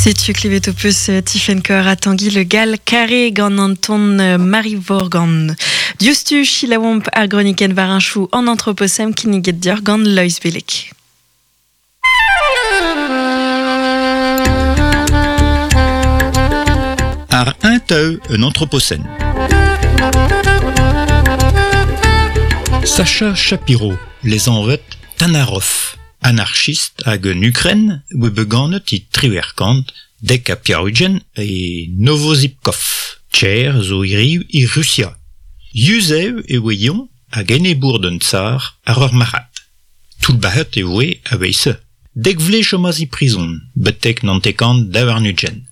Setu klevet ho peus Tifenn Kor ha Tangi Le Gall Carré gant an ton Marie Vorgan. Diouzhtu selaouomp ar gronikenn war an an anthropocène kinniget deoc'h gant Loeiz Beleg. Ar un teu un anthropocène. Sacha Shapiro, les anvet Tanaroff, anarchist hag un Ukren, oa bet ganet e triwec'h dek ha pevar-ugent e Novozipkov, Tcher zo hiriv e Rusia. Yuzev e oa eñ hag enebour d'un tsar àr ur marc'had. Toullbac'het e voe a-wezh-se. Dek vloaz chomas e prizon, betek nantekant daou-warn-ugent.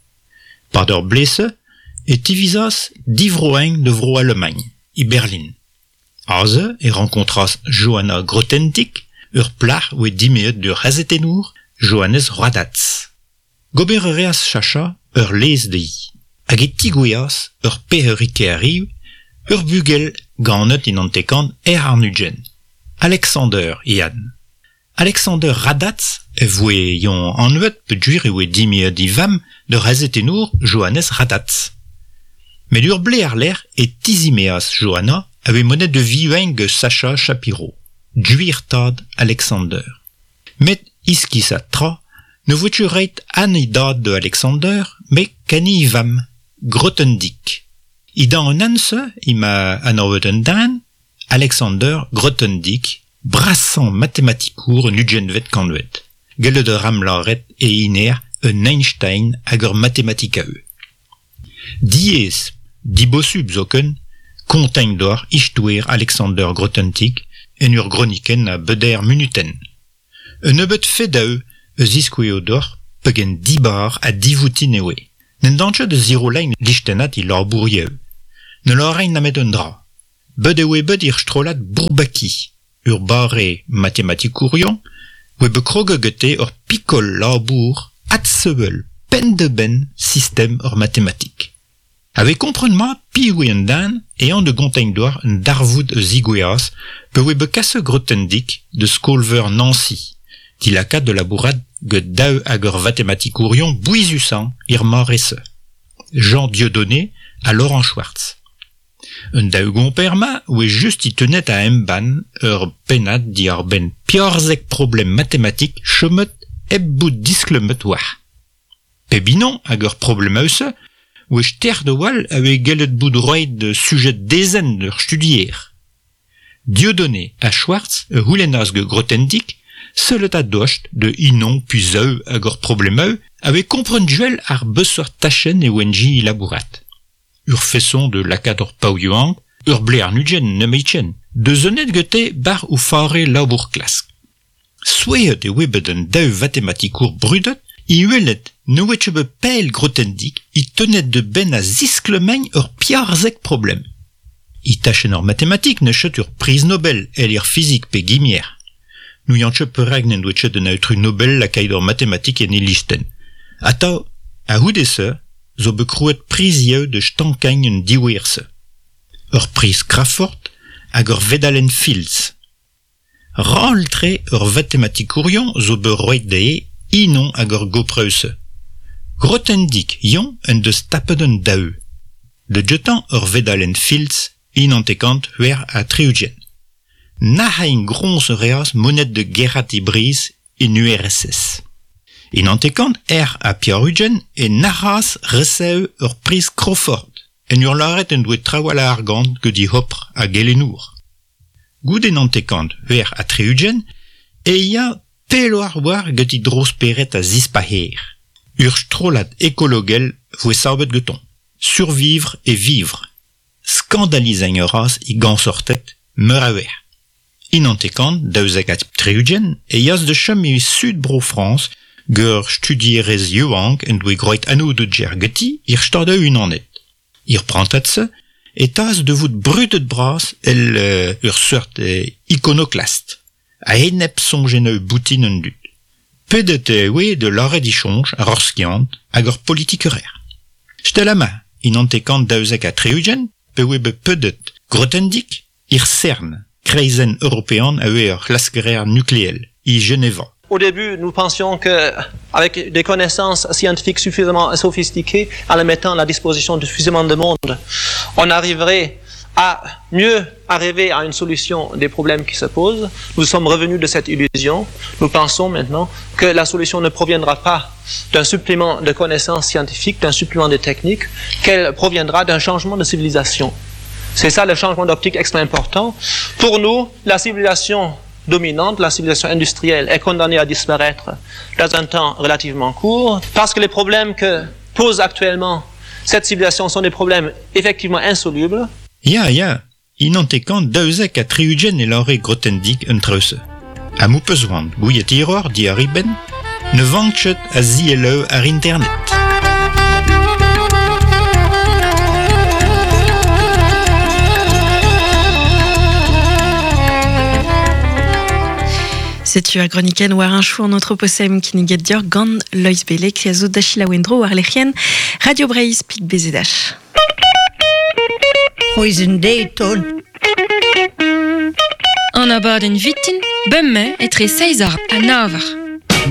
Pad ur blez-se e tivizas divroañ da Vro-Alamagn, e Berlin. Aze e rankontras Johanna Grothendieck, ur plac'h oa dimezet d'ur c'hazetennour, Johannes Radatz. Gober a reas Sacha ur lez dezhi, hag e tigouezhas ur pec'heriñ ur bugel ganet en hanterkant er àrn-ugent, Alexander Ian. Alexander Radatz e voe eñ anvet peogwir e oa dimezet e vamm d'ur c'hazetennour Johannes Radatz. Met ur blez àr-lerc'h e tizimezas Johanna a voe monet da vivañ gant Sacha Shapiro, gwir tad Alexander. Met iskisat tra, ne voe ket ret an e dad da Alexander, met kani e vamm, Grothendieck. E-dan an anv-se emañ anavet un den, Alexander Grothendieck, brasañ matematikour an ugentvet kantved. Gellet a ran lâret e hiner un Einstein hag ur matematikaour. Diaes, dibosubl zoken, kontañ deoc'h istoer Alexander Grothendieck en ur gronikenn a beder munutenn. Un nebeud fedoù a ziskouezo deoc'h pegen dibar ha divoutin e oe. N'en dan ket da zirollañ listennad e labourioù. Ne lârañ nemet un dra. Bet e oe bet er strollad Bourbaki, ur bare matematikourion, oa bet kroget gante ur pikol labour adsevel penn-da-benn sistem ur matematik. A-vez kompren mat piv eo an den eh an da gontañ deoc'h un darvoud a zigouezhas pa oa bet kaset Grothendieck da skol-veur Nancy, dilakaat da labourat gant daou ag ur vatematikourion bouezusañ er mare-se, Jean Dieudonné ha Laurent Schwartz. Un daou gomper-mañ oa just é tenet a embann ur pennad diwar-benn pevarzek problem matematik chomet hep bout disklemmet war. Pep unan ag ur problemoù-se oa stert a-walc'h a oa gellet bout roet da sujed dezenn d'ur studier. Dieudonné ha Schwartz a c'houlennas gant Grothendieck sellet a-dost da unan pe zaou ag ur problemoù a oa kompren gwell àr beseurt tachenn e oant-i labourat. Ur feson de lakaat ur paotr yaouank, ur blez àrn-ugent nemetken, da zonet gante bar o fare labour-klask. Souezhet e oa bet an daou vatematikour brudet é welet ne oa ket bet pell Grothendieck é tonet da benn a zisklemmañ ur pevarzek problem. E tachenn ar matematik n'eus ket ur priz Nobel èl er fizik pe gimier. N'ouian ket perak n'en doa ket an aotrou Nobel lakaet ur matematik en e listenn. Atav, a-c'houde-se, zo bet krouet prizioù da stankañ an diouer-se. Ur priz Crafoord hag ur vedalenn Fields. Ral-tre ur vatematikourion zo bet roet dezhe unan ag ur gopreu-se. Grothendieck eñ en deus tapet an daou. Da gentañ ur vedalenn Fields 1966. Nac'hañ groñs a reas monet da gerc'hat e briz en URSS. En 1984 e nac'has resev ur priz Crawford en ur lâret en doa trawalc'h a argant gant e c'hopr a gelennour. Goude 1966 e ya pelloc'h war gant e dro-spered a zispac'her. Ur strollad ekologel voe savet gantañ, Survivre et vivre. Skandalizañ a ras e gañsorted meur a wech. En 1972 e yas da chom e sud Bro-Frañs gant ur studierez yaouank en doa groet anv-da-ger ganti er Stadoù-Unanet. Er prantad-se e tas da vout brudet-bras èl ur seurt ikonoklast, a-enep soñjennoù boutin an dud. Pedet e oe da lâret e soñj àr ur skiant hag ur politikerezh. Setu amañ en 1972 pe oe bet pedet Grothendieck er CERN, kreizenn european a oe ur c'hlaskerezh nukleel, e Geneva. Au début, nous pensions que avec des connaissances scientifiques suffisamment sophistiquées, en les mettant à la disposition de suffisamment de monde, on arriverait à mieux arriver à une solution des problèmes qui se posent. Nous sommes revenus de cette illusion. Nous pensons maintenant que la solution ne proviendra pas d'un supplément de connaissances scientifiques, d'un supplément de techniques, qu'elle proviendra d'un changement de civilisation. C'est ça le changement d'optique extrêmement important. Pour nous, la civilisation dominante, la civilisation industrielle, est condamnée à disparaître dans un temps relativement court, parce que les problèmes que pose actuellement cette civilisation sont des problèmes effectivement insolubles. Ya, ya, inantekant daouzek ha tri-ugent e lâre Grothendieck un traoù-se. Ha m'ho peus c'hoant gouiet hiroc'h diàr e benn, ne vank ket a zielloù àr internet. Setu ar gronikenn war un chou an anthropocène kinniget deoc'h gant Loeiz Beleg a zo da selaou en-dro war lec'hienn Radio Breizh pik BZH. C'hwezh deiz ton. An abadenn vitin, bemdez etre seizh eur ha nav eur.